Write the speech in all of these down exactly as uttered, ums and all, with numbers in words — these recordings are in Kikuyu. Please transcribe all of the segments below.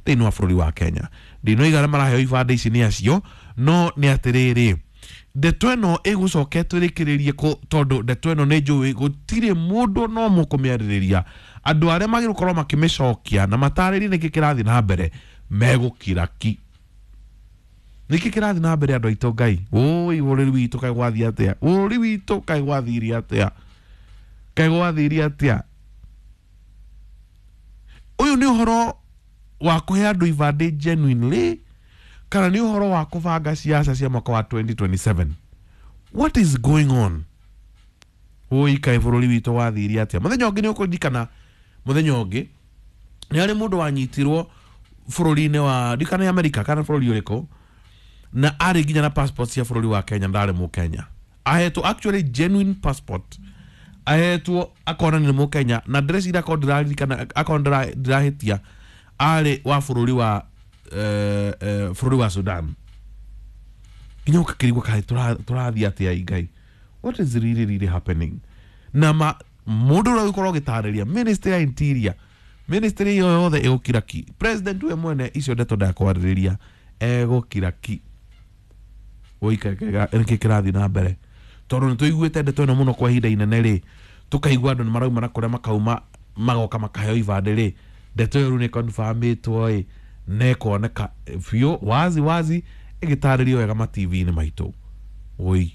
Thĩinĩ wa bũrũri wa Kenya, ndinoiga arĩa maraheo ibandĩ ici nĩ acio, no nĩ atĩrĩrĩ, ndeto ĩno ĩgũcoka ĩtũrĩkĩrĩrie kũ? Tondũ ndeto ĩno nĩ njũĩ gũtirĩ mũndũ no mũkũmĩarĩrĩria. Andũ arĩa magĩrĩirwo gũkorwo makĩmĩcokia na matarĩrie nĩkĩ kĩrathiĩ na mbere megũkira ki. Nĩkĩ kĩrathiĩ na mbere, andũ aitũ? Ngai ũi, bũrũri witũ kaĩ gwathiĩ atĩa? Bũrũri witũ kaĩ gwathirie atĩa? Kaĩ gwathirie atĩa? Ũyũ nĩ ũhoro wa kũhe andũ ibandĩ genuinely, kana nĩ ũhoro wa kũbanga ciaca cia mwaka wa twenty twenty-seven? What is going on? Ũi, kaĩ bũrũri witũ wathirie atĩa? Mũthenya ũngĩ nĩ ũkũririkana, mũthenya ũngĩ nĩ harĩ mũndũ wanyitirwo bũrũri-inĩ wa ndikana nĩ America kana bũrũri ũrĩkũ, na arĩ nginya na passport cia bũrũri wa Kenya. Ndarĩ mũkenya, ahetwo actually genuine passport, ahetwo akona nĩ mũkenya, na ndĩreciria akorwo ndĩraririkana, akorwo ndĩra- ndĩrahĩtia, arĩ wa bũrũri wa eh, eh, bũrũri wa Sudan. Nginya ũgakĩrigwo kaĩ tũra- tũrathiĩ atĩa? Ngai, what is really really happening? Na ma mũndũ ũrĩa ũgũkorwo ũgĩtarĩria, ministry ya interior, ministry ĩyo yothe ĩgũkira ki. President we mwene icio ndeto ndakwarĩrĩria, egũkira ki. Nĩkĩ kĩrathiĩ na mbere? Tondũ nĩ tũiguĩte ndeto ĩno mũno kwa ihinda inene rĩ, tũkaigua andũ nĩ marauma na kũrĩa makauma, magoka makaheo ibandĩ rĩ. Ndeto ĩyo rĩu nĩ confirmĩtwo ĩ, na ĩkoneka biũ wazi wazi, ĩgĩtarĩrio wega ma T V-inĩ maitũ. Oi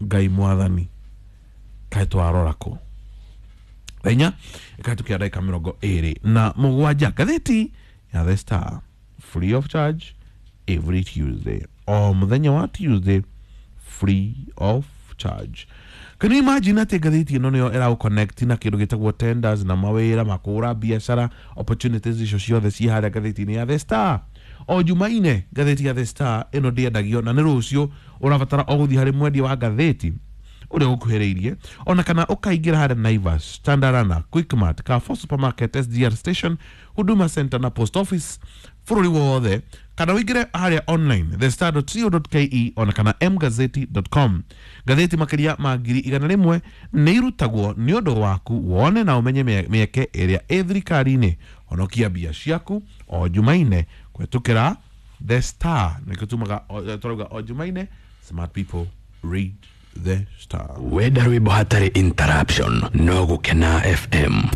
Ngai mwathani, kaĩ twarora kũ? Thaa inya ĩkahĩtũkia ndagĩka mĩrongo ĩrĩ na mũgwanja. Ngathĩti ya The Star, free of charge every Tuesday, o mũthenya wa Tuesday, free of charge. Can you imagine atĩ ngathĩti ĩno nĩyo ĩragũ na kĩndũ gĩtagwo tenders na mawĩra makũra, biacara opportunities icio ciothe ciĩ harĩa ngathĩti-inĩ ya The Star o Jumaine? Ngathĩti ya The Star ĩno ndĩendagio, na nĩ rũciũ ũrabatara o gũthiĩ harĩ mwendia wa ngathĩti ũrĩa ũkuhĩrĩirie, ona kana ũkaingĩra harĩa Naivas, Chandarana, Quickmart, Carrefour Supermarket, S G R Station, Huduma Center na Post Office bũrũri wothe, kana ũingĩre harĩa online thestar dot co dot ke ona kana mgazeti dot com. Ngathĩti makĩria ma ngiri igana rĩmwe nĩ irutagwo nĩ ũndũ waku wone na ũmenye mĩe- mĩeke ĩrĩa ĩ thirikari-inĩ. Honokia mbia ciaku o Jumaine kũhetũkĩra The Star. Nĩkĩo tumaga tũrauga o Jumaine, smart people read The Star. Wenda rwĩmbo hatarĩ interruption, no Gũkena F M.